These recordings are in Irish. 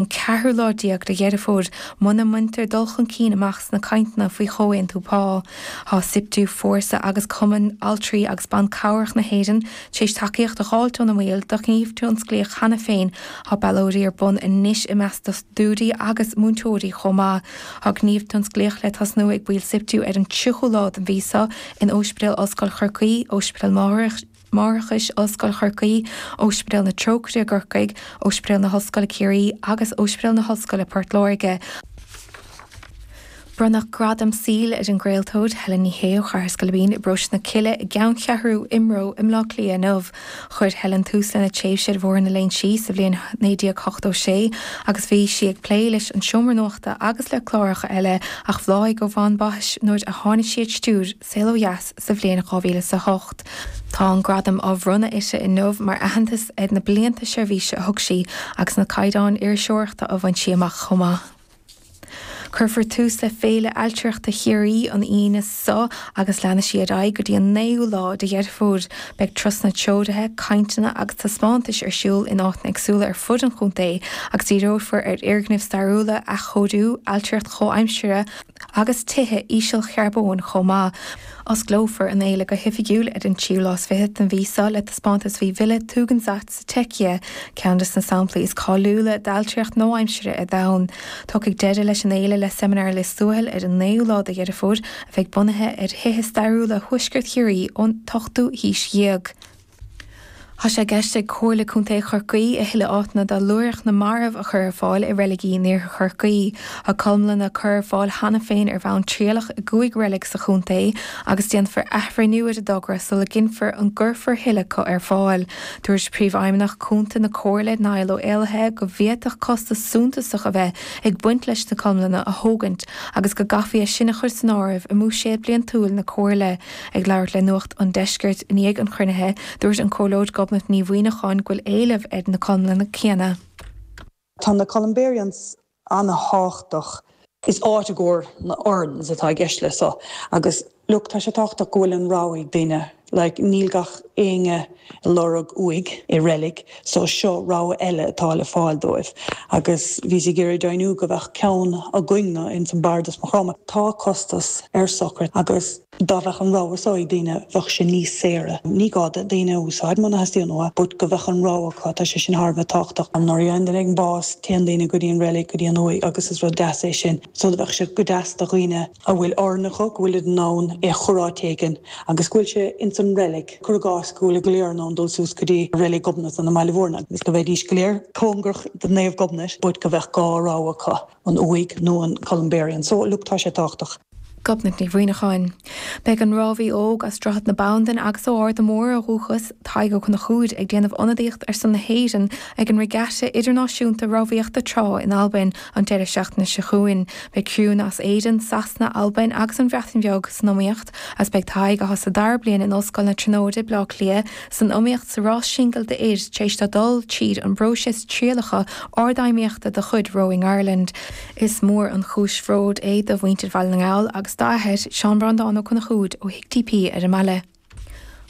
An ceathrú lá déag de Dheireadh Fómhair muna mbaintear dul chun cinn amach sna cainteanna faoi chomhaontú pá. Tá Siptu, Fórsa agus Cumann Altraí agus Ban Cabhrach na hÉireann tar éis tacaíocht a dh'fháilt óna mbaill do ghníomh tionsclaíoch cheana féin. Tá ballóidí ar bun anois i measc dochtúirí agus múinteoirí chomh maith. Tá gníomh tionsclaíoch le tosnú ag baill Siptu ar an 30ú lá den mhí seo in Óispidéal Ollscoil Chorcaí, Óispidéal Máithreachais Ollscoil Chorcaí, Óispidéal na Trócaire i gCorcaigh, Óispidéal na hOllscoile Ciarraí agus Óispidéal na hOllscoile Port Láirge. Bronnadh gradam saoil ar an gcraoltóir Helen Ní Shé ó Chathair Scoilbín i bParóiste na Cille i gCeanncheathrú IMRO i mBleá Cliath inniu. Chuir Helen tús lena tréimhse ar Bhóthar na Léinsí sa bhliain 1986 agus bhí sí ag plé leis an Seomra Nuachta agus le cláracha eile ach bhláthaigh ó bhonn baithis nuair a tháinig sí ar stiúir Saol Ó Dheas sa bhliain 2008. Tá an gradam á bhronnadh uirthi inniu mar aitheantas ar na blianta seirbhíse a thug sí agus na caighdeáin iriseoireachta a bhain sí amach chomh maith. Cuirfear tús le Féile Ailtireachta Chiarraí an Aoine seo agus leanfaidh sí ar aghaidh go dtí an 9ú lá de Dheireadh Fómhair. Beidh turasanna treoraithe, cainteanna agus taispeántais ar siúl in áiteanna éagsúla ar fud an chontae agus díreofar ar fhoirgnimh stairiúla, athchóiriú, ailtireacht chomhaimseartha, agus tithe ísealcharbóin chomh maith. Osclófar an fhéile go hoifigiúil ar an tríú lá is fichead den mhí seo le taispeántas faoi Villa Tugendhat sa tSeicia, ceann de na samplaí is cáiliúla d'ailtireacht nua-aimseartha ar domhan. Tiocfaidh deireadh leis an fhéile le Seimineár Lios Tuathail ar an naoú lá de Dheireadh Fómhair a bheidh bunaithe ar thithe stairiúla thuaisceart Chiarraí ón t-ochtú haois dhéag. Tá sé i gceist ag Comhairle Contae Chorcaí a thuilleadh áiteanna do luaithreach na marbh a chur ar fáil i reiligí in iarthar Chorcaí. Tá colmlanna curtha ar fáil cheana féin ar bhonn trialach i gcúig reilig sa chontae agus déanfar athbhreithniú ar an dtogra sula gcinnfear an gcuirfear thuilleadh acu ar fáil. Dúirt Príomhfheidhmeannach Cúnta na Comhairle, Niall Ó Éallaithe, go bhféadfadh costas suntasach a bheith ag baint leis na colmlanna a thógaint agus go gcaithfí é sin a chur san áireamh i mbuiséad bliantúil na Comhairle. Ag labhairt le Nuacht an Deiscirt i ndiaidh an chruinnithe, dúirt an Comhairleoir Gobnait Ní Mhuimhneacháin go bhfuil éileamh ar na colmlanna céanna. Tá na columbariums an-thábhachtach. Is áit i gcomhair na urns atá i gceist le so agus look tá sé tábhachtach go bhfuil an rogha ag daoine like níl gach éinne ag lorg uaigh i reilig so seo rogha eile atá le fáil dóibh agus bhíos ag iarraidh deimhniú go bheadh ceann againn-ne ins an Bardas Maigh Chromtha. Tá costas ar sochraid agus Dá bheadh an rogha so ag daoine bheadh sé níos saoire. Ní gá do daoine a úsáid muna theastaíonn uathu but go bheadh an rogha acu, tá sé sin thar a bheith tábhachtach. Nuair a fhaigheann duine éigin bás téann daoine go dtí an reilig, go dtí an uaigh agus is rud deas é sin. So do bheadh sé go deas do dhaoine a bhfuil urn acu go bhfuilid in ann é a chur áit éigin agus go bhfuil sé ins an reilig. Cuir i gcás go bhfuil go léir in ann dul suas go dtí reilig Ghobnatan i mBaile Mhúirne agus go bheidís go léir cóngarach do Naomh Gobnait but go bheadh dhá rogha acu, an uaigh nó an columbarium. So look tá sé tábhachtach. Gobnait Ní Mhuimhneacháin. Beidh an rámhaí óg as Droichead na Bandan agus ó Arda Mór ó dhúchas, Tadhg Ó Conchúir, ag déanamh ionadaíocht ar son na hÉireann ag an Regatta Idirnáisiúnta Rámhaíochta Trá in Albain an deireadh seachtaine seo chugainn. Beidh criúnna as Éirinn, Sasana, Albain agus an Bhreatain Bheag san iomaíocht agus beidh Tadhg, atá sa dara bliain in Ollscoil na Tríonóide, Bleá Cliath, san iomaíocht sa rás singil d'fhir tar éis dó dul tríd an bpróiseas trialacha ardfheidhmíochta de chuid Rowing Ireland. Is mór an chúis bhróid é do mhuintir Bhaile na nGall agus dá athair, Seán Breandán Ó Conchúir ó Thigh TP ar an mbaile.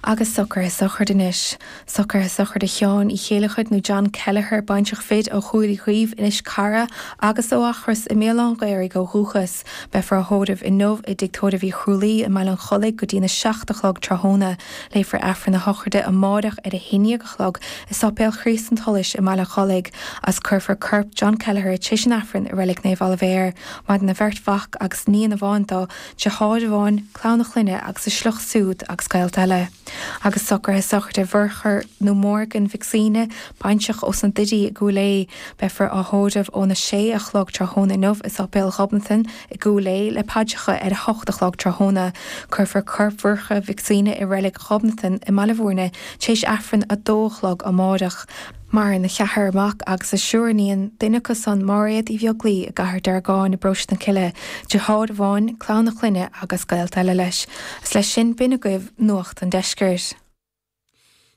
Agus socruithe sochraide anois. Socruithe sochraide Sheáin Uí Chéilleachair nó John Kelleher, baintreach fir ó Chúil Uí Chaoimh, Inis Cara agus ó Eachros i mBéal Átha an Ghaorthaidh ó dhúchas. Beifear á thórramh inniu i dTigh Tórraimh Uí Chrualaoi i mBaile an Chollaigh go dtína 7 a chlog tráthnóna. Léifear Aifreann na sochraide amáireach ar a haon déag a chlog i Sáipéal Chríost an tSolais i mBaile an Chollaigh agus cuirfear corp John Kelleher tar éis an Aifrinn i Reilig Naomh Oilibhéar. Maireann a bheirt mhac agus níon amháin dó, deartháir amháin, clann a chlainne agus a sliocht siúd agus gaolta eile. Agus socruithe sochraide Mhurchadh nó Morgan Mhic Suibhne, baintreach ós na Doirí i gCúil Aodha. Beifear á thórramh óna sé a chlog tráthnóna inniu i Sáipéal Ghobnatan i gCúil Aodha le paidreacha ar a hocht a chlog tráthnóna. Cuirfear corp Mhurchadh Mhic Suibhne i Reilig Ghobnatan i mBaile Mhúirne tar éis Aifreann 2 a chlog amáireach. Maireann a cheathrar mac agus a seisear iníon, duine acu san Máiréad Uí Bheaglaoi i gCathair Deargáin i bparóiste na Cille, deartháir amháin, clann a clainne agus gaolta eile leis. Is leis sin b'in agaibh Nuacht an Deiscirt.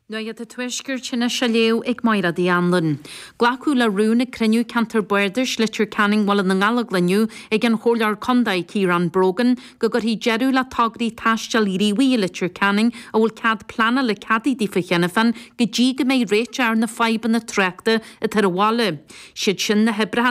Nuacht an Tuaiscirt anois á léamh ag Máire Uí Anluain. Glacadh le rún ag cruinniú Ceantar Bardais Leitir Ceanainn Bhaile na nGallóglach inniu ag an Chomhairleoir Contae Ciarán Brogan go gcuirfí deireadh le tograí taistil ghníomhaigh i Leitir Ceanainn a bhfuil cead pleanála ceadaithe daofa cheana féin go dtí go mbeidh réiteach ar na fadhbanna tráchta atá ar an bhaile. Siad sin na hoibreacha.